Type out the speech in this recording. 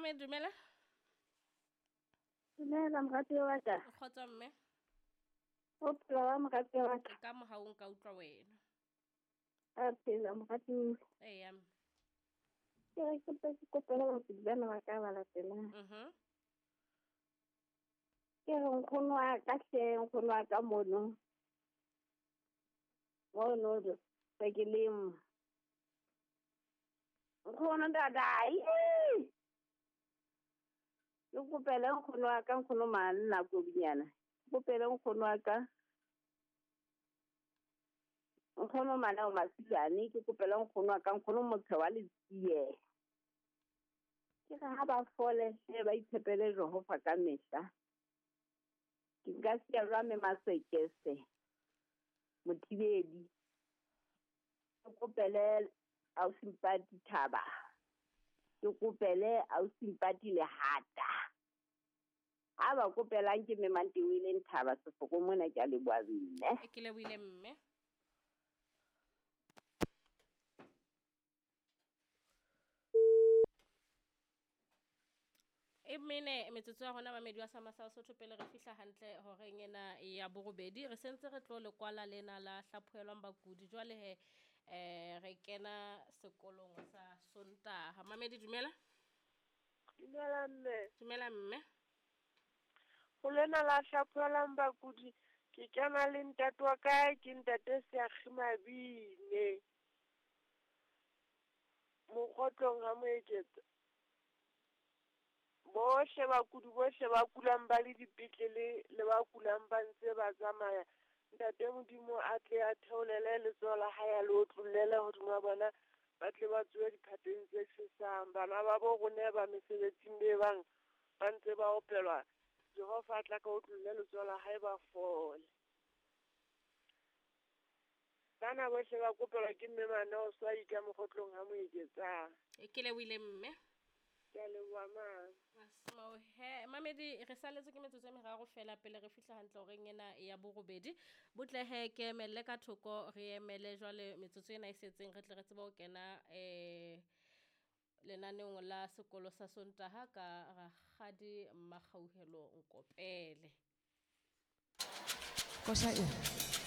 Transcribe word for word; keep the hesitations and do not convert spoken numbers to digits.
Mamedi, dumela. Dumela moratuwa wa ka. Kgotso mme. O phela wa moratuwa wa ka. Ka mohau nka utlwa wena. A phela moratuwa. Eya. Ke re ke ke kopela bakudi bana ba ka ba latelang. Mhm. Ke re nkgono wa ka hle, nkgono wa ka mono. Mono se ke lemo. Nkgono ntatae. Ke kopele nkgono wa ka, nkgono manna kobinyana. Ke kopele nkgono wa ka. Nkgono mana o Masilane, ke kopele nkgono wa ka, nkgono motho wa Letsie. Ke re ha ba fole hle, ba itshepele Jehova ka mehla. Ke nka siya jwang mme Masekese Mothibedi. Ke kopele ausi Thaba. Ke kopele ausi Mpati Lehata. Ha ba kopelang ke mme Mantewele Thaba Sefoko mona, ke a leboha mme. Ke lebohile mme. E mene metsotso ya rona mamedi wa Sama sa Sotho pele re fihla hantle horeng ena ya borobedi, re sentse re tlo lekwala lena la hlaphohelwang bakudi. Jwale he eh re kena sekolong sa Sontaha. Mamedi, dumela. Dumela mme. Dumela mme. Ho lena la hlaphohelwang bakudi ke kena le ntate wa ka, ke ntate Seakgi Mabine. Mokgotlong ha Moeketsa. Bohle bakudi bohle ba kulang ba le dipetlele le ba kulang ba ntse ba tsamaya. Ntate Modimo a tle a theolele letsoho la hae a le otlollele hodima bona, ba tle ba tsohe diphateng tse tjhesang. Bana ba bo rona ba mesebetsing be bang ba ntse ba opelwa, Jehova a tla ka otlolle letsoho la hae ba fole. Bana bohle ba kopelwa ke mme Maneo Swai ka Mokgotlong ha Moeketsang. E ke lebohile mme. Ke a leboha ma. Asmo he mamedi, re saletse ke metsotso e meraro fela pele re fihla hantle horeng ena ya borobedi. Botle he ke emelle ka thoko, re emele jwale metsotso ena e setseng re tle re tsebe ho kena eh lenaneong la sekolo sa Sontaha ka Rakgadi Mmakgauhelo Nkopele. Kosa e.